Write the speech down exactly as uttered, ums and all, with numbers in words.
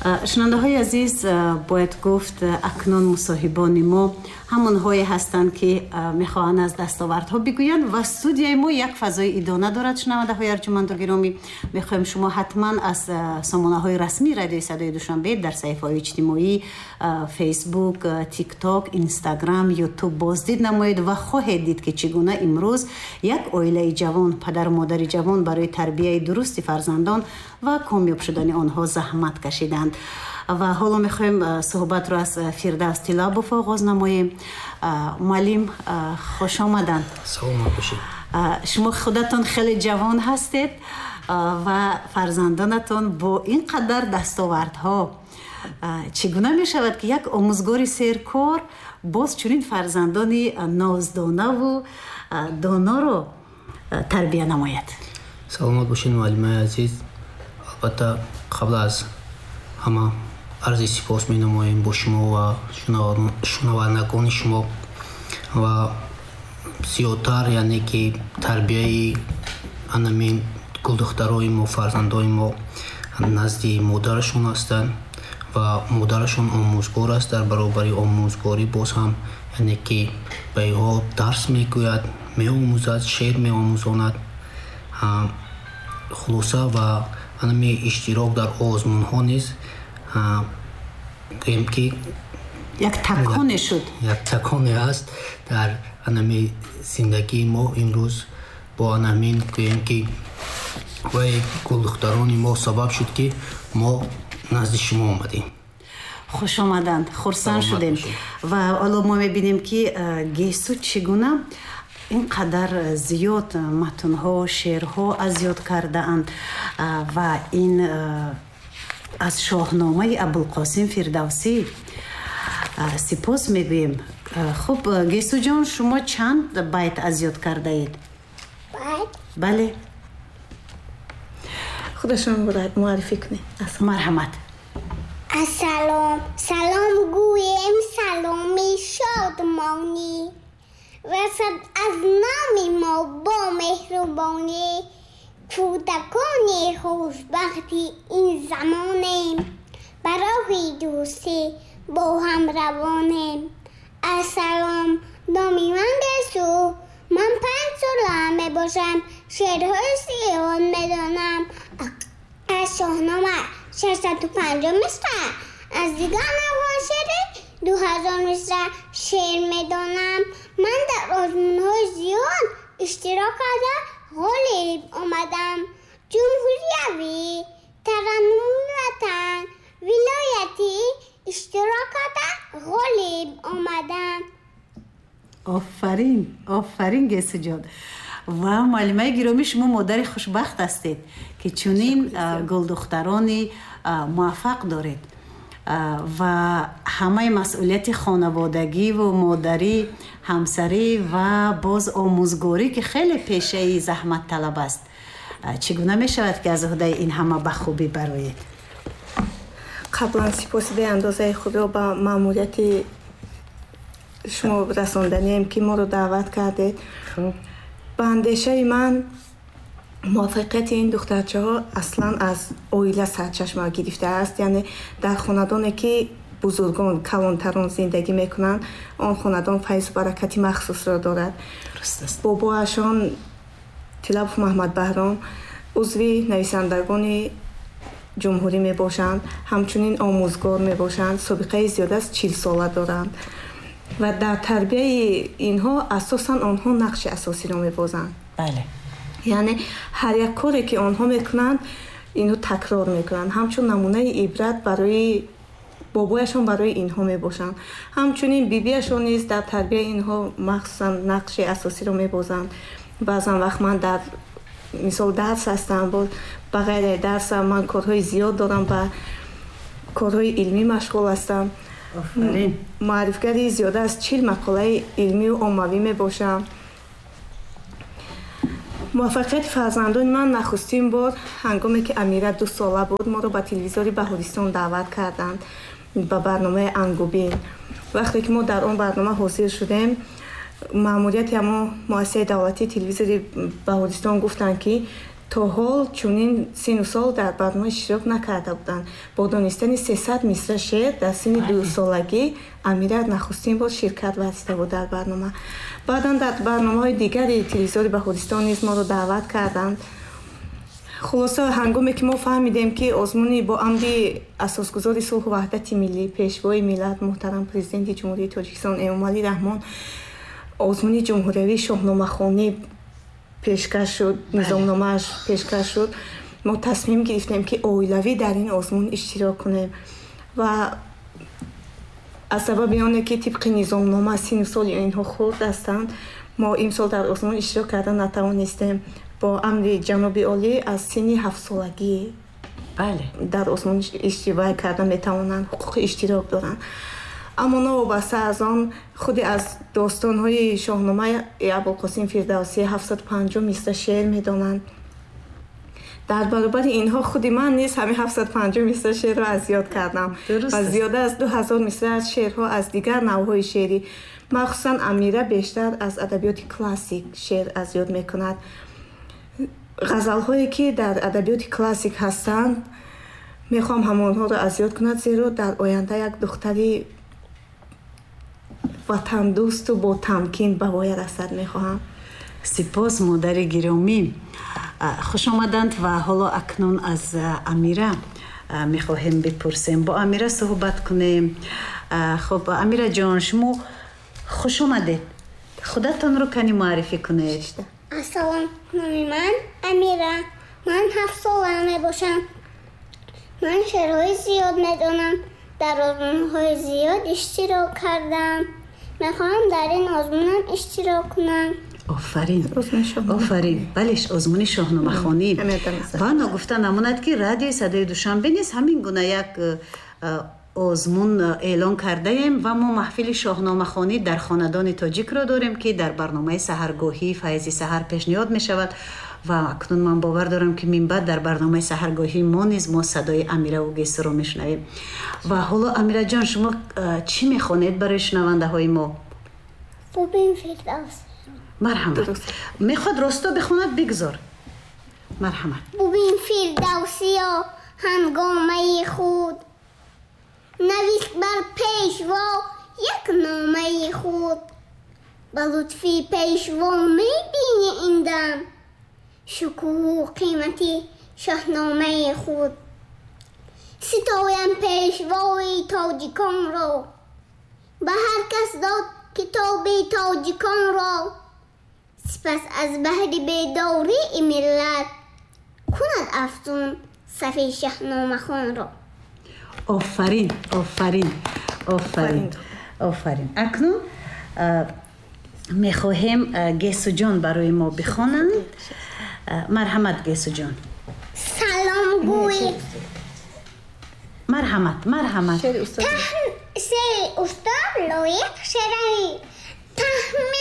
Шунавандаҳои азиз, бояд гуфт, акнун мусоҳибони мо ҳамонҳое ҳастанд, ки мехоҳанд аз дастовардҳо бигӯянд ва студияи мо як фазои идона дорад. Шунавандаҳои арҷуманду гиромӣ, мехоҳем шумо ҳатман аз сомонаҳои расмии Радиои Садои Душанбе дар саҳифаҳои иҷтимоӣ Фейсбук, Тикток, Инстаграм, Ютуб боздид намоед ва хоҳед дид, ки чӣ гуна имрӯз як оилаи ҷавон, падару модари ҷавон барои тарбияи дурусти фарзандон ва комёб шудани онҳо заҳмат кашиданд. Ва ҳоло мехоҳем суҳбатро аз Фирдавс Тилабов оғоз намоем. Муаллим, хуш омаданд. Саломат бошед. Шумо худатон хеле ҷавон ҳастед ва фарзандонатон бо ин қадар дастовардҳо. Чӣ гуна мешавад, ки як омӯзгори серкор боз чунин фарзандони ноздонаву доноро тарбия намояд? Саломат бошед, муаллимаи азиз. Албатта, қабл аз ҳама арзи сипос менамоем бо шумо ва шунавандагони шумо ва зиёдтар, яъне ки тарбияи анамин гулдухтарои мо, фарзандои мо назди модарашон ҳастанд ва модарашон омӯзгор аст. Дар баробари омӯзгорӣ боз ҳам, яъне ки ба инҳо дарс мегӯяд, меомӯзад, шеър меомӯзонад. Хулоса, ва анами иштирок дар озмунҳо низ, гӯем ки як таконе шуд, як таконе аст дар анами зиндагии мо. Имрӯз бо анамин, гӯем ки, вай гулдухтарони мо сабаб шуд, ки мо назди шумо омадем. Хуш омаданд, хурсанд шудем. Ва ҳоло мо мебинем, ки Гесу чӣ гуна ин қадар зиёд матнҳо, шеърҳо аз ёд кардаанд ва ин аз Шоҳномаи Абулқосим Фирдавсӣ. Сипос мегӯем. Хуб, Гесуҷон, шумо чанд байт аз ёд кардаед? Байт? Бале. Худашон муаррифӣ кунед. Марҳамат. Ассалом, салом гӯем, саломи шодмонӣ расад аз номи мо бо меҳрубонӣ. Кӯдакони хушбахти ин замонем, ба роҳи дӯстӣ бо ҳам равонем. Ассалом, номи ман Гесу, ман панҷ сола мебошам, шеърҳои зиёд медонам. Аз Шоҳнома шашсаду панҷоҳ мисра, аз дигар навъҳои шеърӣ ду ҳазор мисра шеър медонам. Ман дар озмунҳои зиёд иштирок карда ғолиб омадам. Ҷумҳуриявӣ, Тараннуми ватан, вилоятӣ иштирок карда ғолиб омадам. Офарин, офарин, Гесуҷон. Ва муаллимаи гиромӣ, шумо модари хушбахт ҳастед, ки чунин гулдухтарони муваффақ доред ва ҳамаи масъулияти хонаводагиву модарӣ, ҳамсарӣ ва боз омӯзгорӣ, ки хеле пешаи заҳматталаб аст. Чӣ гуна мешавад, ки аз уҳдаи ин ҳама ба хубӣ бароед? Қаблан сипоси беандозаи худро ба маъмурияти шумо расонданием, ки моро даъват кардед. Ба андешаи ман, муваффақияти ин духтарчаҳо аслан аз оила сарчашма гирифтааст. Яъне дар хонадоне, ки бузургон, калонтарон зиндагӣ мекунанд, он хонадон файзу баракати махсусро дорад. Бобоашон Тилабов Маҳмад Баҳром узви нависандагони ҷумҳурӣ мебошанд, ҳамчунин омӯзгор мебошанд, собиқаи зиёд аз чилсола доранд ва дар тарбияи инҳо асосан онҳо нақши асосиро мебозанд. Бале. Яъне ҳар як коре, ки онҳо мекунанд, инҳо такрор мекунанд, ҳамчун намунаи ибрат барои бобояшон, барои инҳо мебошанд. Ҳамчунин бибиашон низ дар тарбияи инҳо махсусан нақши асосиро мебозанд. Баъзан вақт ман дар мисол дарс ҳастам, ба ғайри дарсам ман корҳои зиёд дорам, ба корҳои илмӣ машғул ҳастам. Муаррифгари зиёда аз чил мақолаи илмию оммавӣ мебошам. Муваффақияти фарзандони ман нахустин бор ҳангоме ки Амира ду сола буд, моро ба телевизори Баҳористон даъват карданд ба барномаи Ангубин. Вақте ки мо дар он барнома ҳозир шудем, маъмурияти ҳамон муассисаи давлатии телевизори Баҳористон гуфтанд, ки То ҳол чунин сину сол дар барнома иштирок накарда буданд. Бо донистани сесад мисра шеър дар синни дусолагӣ Амира нахустин бор ширкат варзида буд дар барнома. Баъдан дар барномаҳои дигари телевизори Баҳористон низ моро даъват карданд. Хулоса, ҳангоме ки мо фаҳмидем, ки озмуни бо амри асосгузори сулҳу ваҳдати миллӣ, пешвои миллат, муҳтарам Президенти Ҷумҳурии Тоҷикистон Эмомалӣ Раҳмон озмуни ҷумҳуриявии шоҳномахонӣ пешкаш шуд, низомномааш пешкаш шуд, мо тасмим гирифтем, ки оилавӣ дар ин озмун иштирок кунем ва аз сабаби оне ки тибқи низомнома сину соли инҳо хурд ҳастанд, мо имсол дар озмун иштирок карда натавонистем. Бо амри ҷаноби олӣ аз синни ҳафтсолагӣ дар озмун иштирок карда метавонанд, ҳуқуқи иштирок доранд. Аммо новобаста аз он, худи аз достонҳои шоҳномаи Абулқосим Фирдавсӣ ҳафтсаду панҷоҳ мисра шеър медонанд. Дар баробари инҳо худи ман низ ҳамин ҳафтсаду панҷоҳ мисра шеърро аз ёд кардам ва зиёда аз ду ҳазор мисра аз шеърҳо аз дигар навъҳои шеърӣ, махсусан Амира бештар аз адабиёти классик шеър аз ёд мекунад. Ғазалҳое ки дар адабиёти классик ҳастанд, мехоҳам ҳамонҳоро аз ёд кунад, зеро дар оянда як духтари ватандӯсту бо тамкин ба воя расад мехоҳам. Сипос, модари гиромӣ. Хуш омаданд ва ҳоло акнун аз Амира мехоҳем бипурсем, бо Амира суҳбат кунем. Хуб, Амира ҷон, шумо хуш омадед. Худатонро кани муаррифӣ кунед. Ассалом, номи ман Амира. Ман ҳафт сола мебошам. Ман шеърҳои зиёд медонам. Дар озмунҳои зиёд иштирок кардам. Мехоҳам дар ин озмунам иштирок кунам. Офарин, офарин. Бале, озмуни шоҳномахонӣ. Ва ногуфта намонад, ки радиои садои Душанбе низ ҳамин гуна як озмун эълон кардаем ва мо маҳфили шоҳномахонӣ дар хонадони тоҷикро дорем, ки дар барномаи саҳаргоҳии Файзи саҳар пешниҳод мешавад ва акнун ман бовар дорам, ки минбаъд дар барномаи саҳаргоҳии мо низ мо садои Амираву Гесуро мешунавем. Ва ҳоло, Амираҷон, шумо чӣ мехонед барои шунавандаҳои мо? Бубин Фирдавс. Марҳамат. Мехоҳад росто бихонад, бигзор. Марҳамат. Бубин Фирдавсиё ҳангомаи худ, навист бар пешво як номаи худ. Ба лутфи пешво мебини ин дам шукӯҳу қимати шоҳномаи худ. Ситоям пешвои тоҷиконро, ба ҳар кас дод китоби тоҷиконро. Сипас аз баҳри бедории миллат кунад афзун сафи шоҳномахонро. Офарин, офарин, офарин, офарин. Акнун мехоҳем Гесуҷон барои мо бихонанд. Марҳамат, Гесуҷон. Салом гӯй. Марҳамат, марҳамат. Шеъри устод Лоиқ Шералӣ. Таҳмин